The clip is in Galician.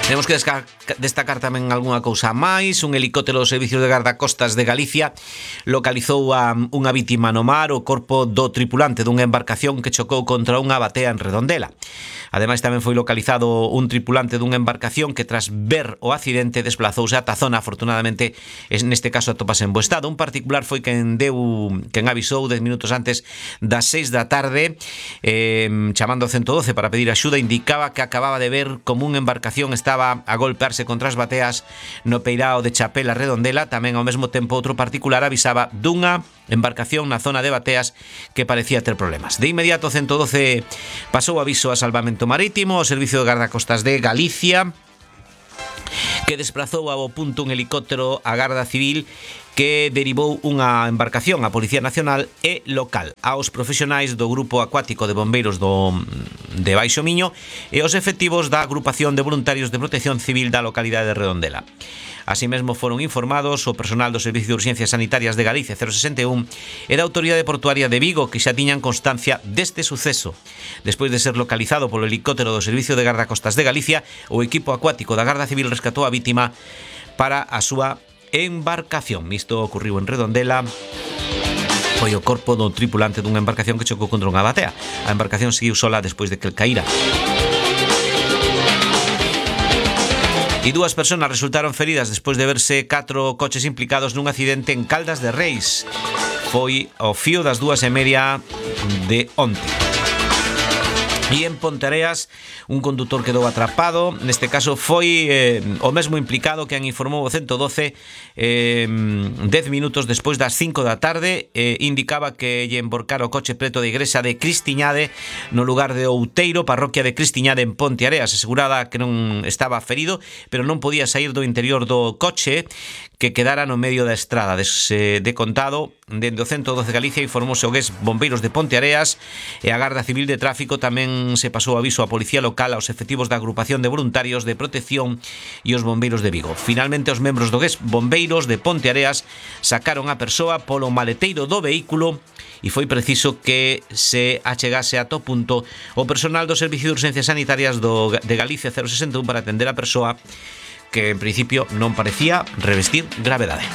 Temos que destacar tamén algunha cousa máis. Un helicóptero do Servicio de Gardacostas de Galicia localizou a unha vítima no mar, o corpo do tripulante dunha embarcación que chocou contra unha batea en Redondela. Ademais, tamén foi localizado un tripulante dunha embarcación que, tras ver o accidente, desplazouse ata a zona. Afortunadamente, neste caso atopase en bo estado. Un particular foi quen avisou 10 minutos antes das 6 da tarde, chamando ao 112 para pedir axuda. Indicaba que acababa de ver como unha embarcación estaba a golpearse contra as bateas no peirao de Chapela, Redondela. Tamén ao mesmo tempo outro particular avisaba dunha embarcación na zona de bateas que parecía ter problemas. De inmediato 112 pasou aviso a Salvamento Marítimo, ao Servicio de Gardacostas de Galicia, que desplazou ao punto un helicóptero a Garda Civil, que derivou unha embarcación a Policía Nacional e local, aos profesionais do Grupo Acuático de Bombeiros de Baixo Miño e os efectivos da Agrupación de Voluntarios de Protección Civil da localidade de Redondela. Así mesmo foron informados o personal do Servicio de Urxencias Sanitarias de Galicia 061 e da Autoridade Portuaria de Vigo, que xa tiñan constancia deste suceso. Despois de ser localizado polo helicóptero do Servicio de Gardacostas de Galicia, o equipo acuático da Garda Civil rescatou a vítima para a súa embarcación. Isto ocurriu en Redondela. Foi o corpo do tripulante dunha embarcación que chocou contra unha batea. A embarcación seguiu sola despois de que caíra. E dúas persoas resultaron feridas despois de verse 4 coches implicados nun accidente en Caldas de Reis. Foi ao fío das 2:30 de onte. E en Ponteareas, un condutor quedou atrapado. Neste caso foi o mesmo implicado que informou o 112 10 minutos despois das 5 da tarde. Indicaba que lle emborcara o coche preto da igrexa de Cristiñade, no lugar de Outeiro, parroquia de Cristiñade, en Ponteareas. Asegurada que non estaba ferido, pero non podía sair do interior do coche, que quedara no medio da estrada. De contado, dende o 112 Galicia informouse o GES Bombeiros de Ponteareas e a Garda Civil de Tráfico. Tamén se pasou aviso á Policía Local, aos efectivos da Agrupación de Voluntarios de Protección e os Bombeiros de Vigo. Finalmente, os membros do GES Bombeiros de Ponteareas sacaron a persoa polo maleteiro do vehículo e foi preciso que se achegase a to punto o personal do Servicio de Urxencias Sanitarias de Galicia 061 para atender a persoa, que en principio non parecía revestir gravedade.